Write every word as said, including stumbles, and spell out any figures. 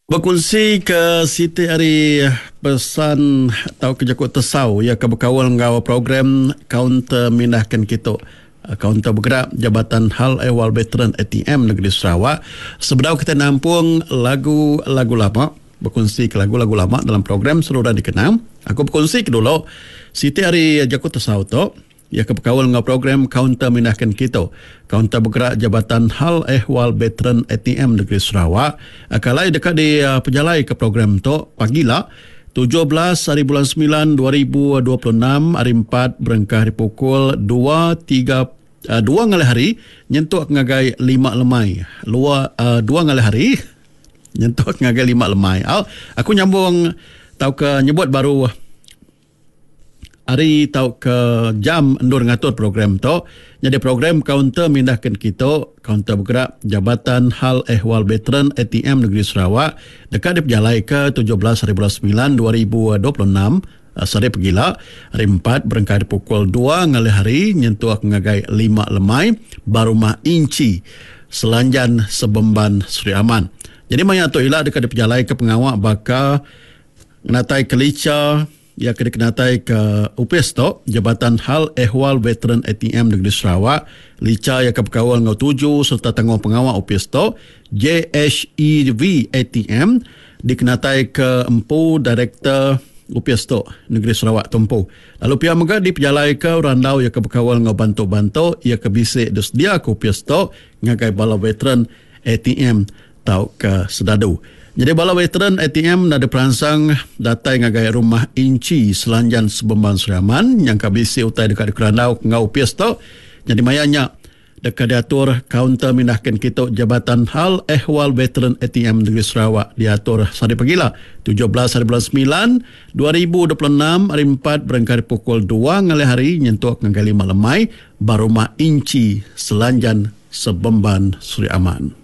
Bekunsi ke siti ari pesan tau ke jaku tesau ia ke bekaul enggau program kaunter mindahkan kitu. Kaunter bergerak Jabatan Hal Ehwal Veteran A T M Negeri Sarawak. Sebedau kita nampung lagu-lagu lama, bekunsi ke lagu-lagu lama dalam program Seruran Dikenang, aku bekunsi ke dulu siti ari jaku tesau tu ia ke bekaul enggau program kaunter mindahkan kitu. Kaunter bergerak Jabatan Hal Ehwal Veteran A T M Negeri Sarawak. Kalai dekat di uh, pejalai ke program tu pagi lah tujuh belas hari bulan sembilan dua ribu dua puluh enam hari empat berengkah hari pukul dua tiga uh, dua ngalih hari nyentuk ngagai lima lemai. Lua uh, dua ngalih hari nyentuk ngagai lima lemai. Au, aku nyambung tau ke nyebut baru hari tau ke jam endur ngatur program tu. Jadi program kaunter mindahkan kita, kaunter bergerak Jabatan Hal Ehwal Veteran A T M Negeri Sarawak dekat diperjalai ke tujuh belas hari bulan sembilan dua ribu dua puluh enam sore pegila hari empat berengkah pukul dua ngalih hari nyentuh ngagai lima lemai Barumah Inci Selanjan Sebemban Sri Aman. Jadi maya tu ila dekat diperjalai ke pengawak baka natai kelica ia kena kenatai ke U P S tu Jabatan Hal Ehwal Veteran A T M Negeri Sarawak lica ia ke bekawal ngau tuju serta tanggung pengawal U P S tu J H E V A T M dikenatai ke empu Direktur U P S tu Negeri Sarawak tumpu. Lalu pihak mega dipejalai ke randau ia ke bekawal ngau bantu-bantu ia ke bisik disedia ke U P S tu ngagai bala veteran A T M tau ke sedadu. Jadi bala veteran A T M nada peransang datai ngagai rumah Inci Selanjan Sebemban Sri Aman yang kabisi utai dekat dikerandau ngau U P S tu. Jadi mayanya dekat diatur kaunter mindahkan kita Jabatan Hal Ehwal Veteran A T M Negeri Sarawak diatur sehari pagila tujuh belas hari bulan sembilan dua ribu dua puluh enam hari empat berangkat pukul dua ngalih hari nyentuk ngagai lima lemai Barumah Inci Selanjan Sebemban Sri Aman.